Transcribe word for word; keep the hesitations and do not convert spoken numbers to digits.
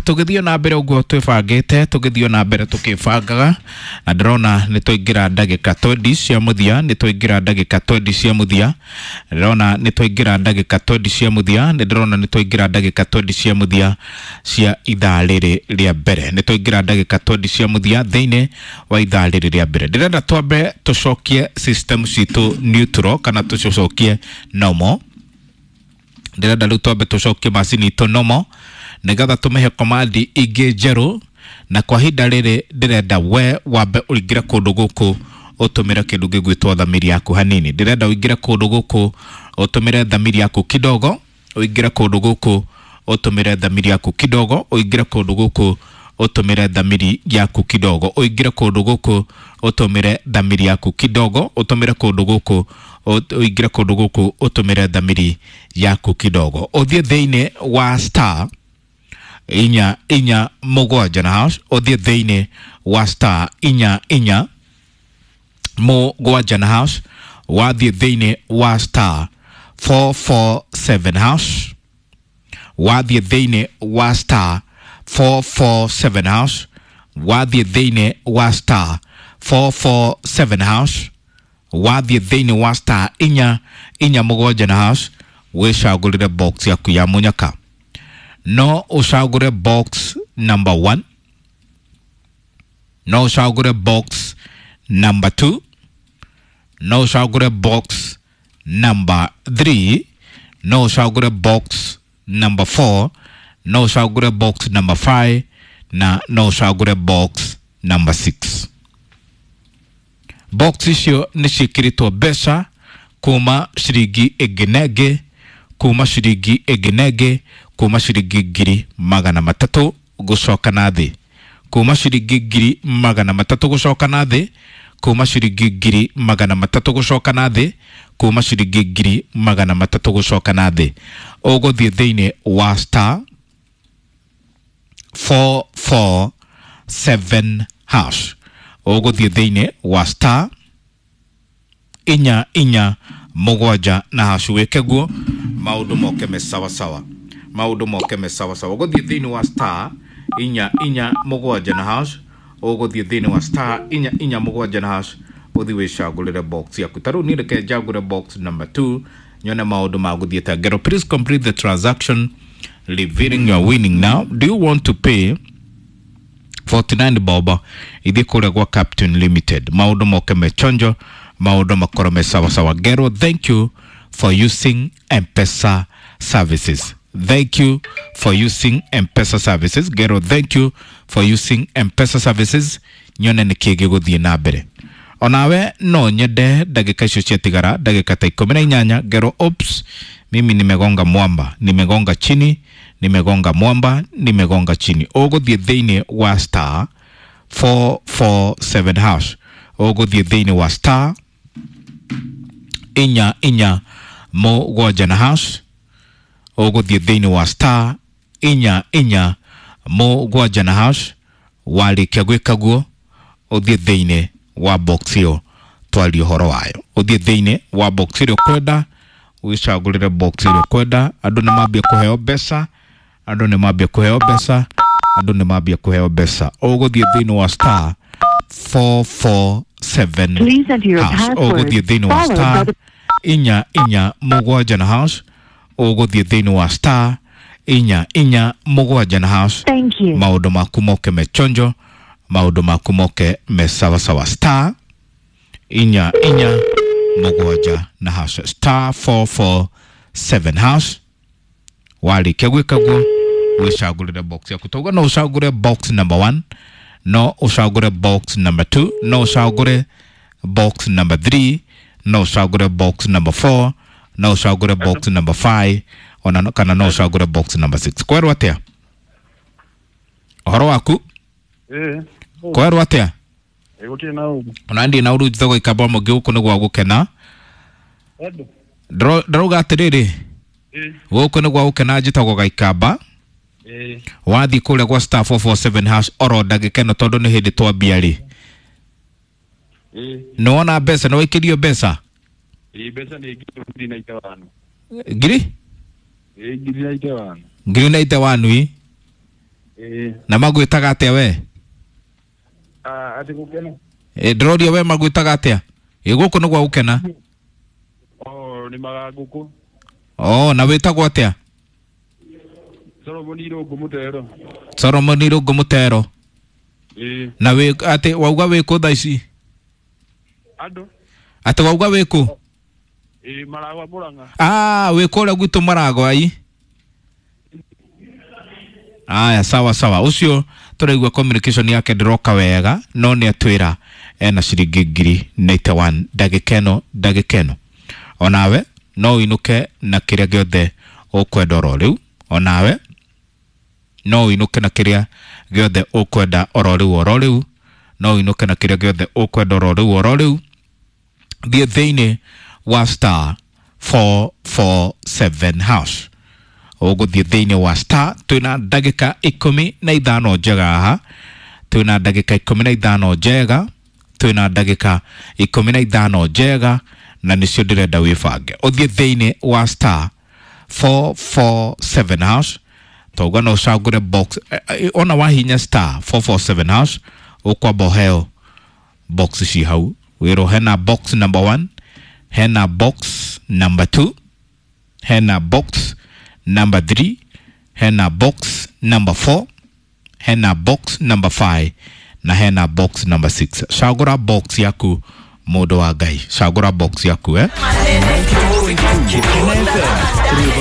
Tũgĩthiĩ na mbere ũguo twĩbangĩte, tũgĩthiĩ na mbere tũkĩbangaga, na ndĩrona nĩ twaingĩra ndagĩka twenty cia mũthia, nĩ twaingĩra ndagĩka twenty cia mũthia, ndĩrona nĩ twaingĩra ndagĩka twenty cia mũthia, nĩ ndĩrona nĩ twaingĩra ndagĩka twenty cia mũthia cia ithaa rĩrĩ rĩa mbere, nĩ twaingĩra ndagĩka twenty cia mũthia thĩinĩ wa ithaa rĩrĩ rĩa mbere. Ndĩrenda twambe tũcokie system citũ neutral kana tũcokie normal. Ndĩrenda rĩu twambe tũcokie macini itũ normal nĩgetha tũmĩhe command ingĩ njerũ, na kwa ihinda rĩrĩ ndĩrenda we wambe ũingĩre kũndũ gũkũ ũtũmĩre kĩndũ gĩgwĩtwo thamiri yaku hanini. Ndĩrenda ũingĩre kũndũ gũkũ ũtũmĩre thamiri yaku kidogo, ũingĩre kũndũ gũkũ ũtũmĩre thamiri yaku kidogo, ũingĩre kũndũ gũkũ ũtũmĩre thamiri yaku kidogo, ũingĩre kũndũ gũkũ ũtũmĩre thamiri yaku kidogo, ũtũmĩre kũndũ gũkũ ũingĩre kũndũ gũkũ ũtũmĩre thamiri yaku kidogo, ũthiĩ thĩinĩ wa star inya inya mũgwanja na hash, ũthiĩ thĩinĩ wa star inya inya mũgwanja na hash, wathiĩ thĩinĩ wa star four four seven hash, wathiĩ thĩinĩ wa star four four seven hash, wathiĩ thĩinĩ wa star four four seven hash, wathiĩ thĩinĩ wa star inya inya mũgwanja na hash, wĩcagũrĩre box yaku ya mũnyaka. No ũcagũre box number one, no ũcagũre box number two, no ũcagũre box number three, no ũcagũre box number four, no ũcagũre box number five, na no ũcagũre box number six. Box icio nĩ ciĩkĩrĩtwo mbeca kuma ciringi ĩngĩ na ĩngĩ, kuma ciringi ĩngĩ na ĩngĩ, kuma ciringi ngiri magana matatũ gũcoka na thĩ, kuma ciringi ngiri magana matatũ gũcoka na thĩ, kuma ciringi ngiri magana matatũ gũcoka na thĩ, kuma ciringi ngiri magana matatũ gũcoka na thĩ. Ũgũthiĩ thĩinĩ wa star four four seven hash, ũgũthiĩ thĩinĩ wa star inya inya mũgwanja na hash, wĩke guo maũndũ moke me sawa sawa, maũndũ moke me sawa sawa. Ũgũthiĩ thĩinĩ wa star inya inya mũgwanja na hash, ũgũthiĩ thĩinĩ wa star inya inya mũgwanja na hash, ũthiĩ wĩcagũrĩre box yaku. Ta rĩu niĩ reke njagũre box number two nyone maũndũ magũthiĩte. Ngero, please complete the transaction revealing your winning now. Do you want to pay forty-nine bob ithiĩ kũrĩa gwa Captain Limited? Maũndũ moke me chonjo, maũndũ makorwo me sawa sawa. Ngero, thank you for using M-Pesa services. Thank you for using M-Pesa services. Ngero, thank you for using M-Pesa services. Nyone nĩ kĩĩ gĩgũthiĩ na mbere. Onawe no nyende ndagĩka icio ciatigara ndagĩka ta ikũmi na inyanya. Ngero, oops, mimi nimegonga mwamba, nimegonga chini, nimegonga mwamba, nimegonga chini. Ũgũthiĩ thĩinĩ wa star four four seven hash, ũgũthiĩ thĩinĩ wa star inya inya mũgwanja na hash, ũgũthiĩ thĩinĩ wa star inya inya mũgwanja na hash. Warĩkia gwĩka guo ũthiĩ thĩinĩ wa box ĩyo twarie ũhoro wayo, ũthiĩ thĩinĩ wa box ĩrĩa ũkwenda, wĩcagũrĩre box ĩrĩa ũkwenda. Andũ nĩ mambia kũheo mbeca, andũ nĩ mambia kũheo mbeca, andũ nĩ mambia kũheo mbeca. Ũgũthiĩ thĩinĩ wa star four four seven hash, ũgũthiĩ thĩinĩ wa star inya inya mũgwanja na hash, ũgũthiĩ thĩinĩ wa star inya inya mũgwanja na hash. Maũndũ maku moke me chonjo, maũndũ maku moke me sawa sawa. Star inya inya mũgwanja na hash, star four four seven hash. Warĩkia gwĩka guo wĩcagũrĩre box yaku. Tauga no ũcagũre box number one, no ũcagũre box number two, no ũcagũre box number three, no ũcagũre box number four, no ũcagũre box number five, ona kana no ũcagũre box number six. Kwerwo atĩa ũhoro waku? Eh. Kwerwo atĩa? Eh, gũtirĩ na ũru. Ona ndiĩ na ũru, njĩtagwo Ikamba Mũngĩ, gũkũ nĩ gwa gũkena. Ndĩrauga atĩrĩrĩ, gũkũ nĩ gwa gũkena, njĩtagwo Gaikamba. Wathiĩ kũrĩa gwa star four four seven hash oro ndagĩka ĩno tondũ nĩ hĩndĩ twambia rĩ. Nĩ wona mbeca, nĩ waikĩrio mbeca? Mbeca nĩ ngiri na ithano. Ngiri? Ngiri na ithano. Ngiri na ithano ĩ? Ĩĩ. Na magwĩtaga atĩa we? Ah, atĩ gũkena. Ĩ, ndĩroria we magwĩtaga atĩa? Ĩ, gũkũ nĩ gwa gũkena. Oh, nĩ maga ngũkũ. Oh, na wĩtagwo atĩa? Solomon Irũngũ Mũtero. Solomon Irũngũ Mũtero. Ĩĩ. Na wĩ atĩ wauga wĩ kũ thaa ici? Andũ. Atĩ wauga wĩ kũ? Ĩĩ, Maragwa Mũrang'a. Ah, wĩ kũrĩa gwitũ Maragwa ai. Aya, sawa sawa. Ũcio tũraigua communication yake ndĩroka wega, no nĩ atwĩra ena ciringi ngiri ninety-one ndagĩka ĩno ndagĩka ĩno. Onawe no ũinũke na kĩrĩa gĩothe ũkwenda oro rĩu. Onawe no ũinũke na kĩrĩa gĩothe ũkwenda oro rĩu oro rĩu. No ũinũke na kĩrĩa gĩothe ũkwenda oro rĩu oro rĩu. Thiĩ thĩinĩ wa star four four seven hash. Ũgũthiĩ thĩinĩ wa star, twĩna ndagĩka ikũmi na ithano njega haha, twĩna ndagĩka ikũmi na ithano njega, twĩna ndagĩka ikũmi na ithano njega, na nĩcio ndĩrenda wĩbange. Ũthiĩ thĩinĩ wa star four four seven hash. Tauga no ũcagũre box, eh, eh, ona wahinya star four four seven hash ũkwamba ũheo box ci hau, wĩrwo hena box number one, hena box number two, hena box number three, hena box number four, hena box number five na hena box number six. Cagũra box yaku mũndũ wa Ngai, cagũra box yaku eh? Kena F M.